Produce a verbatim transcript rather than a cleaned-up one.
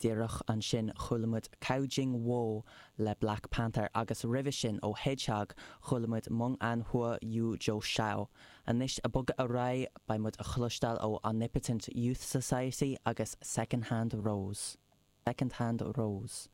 Díreach ansin chuala muid Cao Jing Wo le Black Panther agus roimhe sin ó Hedgehog chuala muid Meng An Hua Yu Zhou Xiao. Anois ag bogadh ar aghaidh beidh muid ag cloisteáil ó Omnipotent Youth Society agus Second Hand Rose. Second Hand Rose.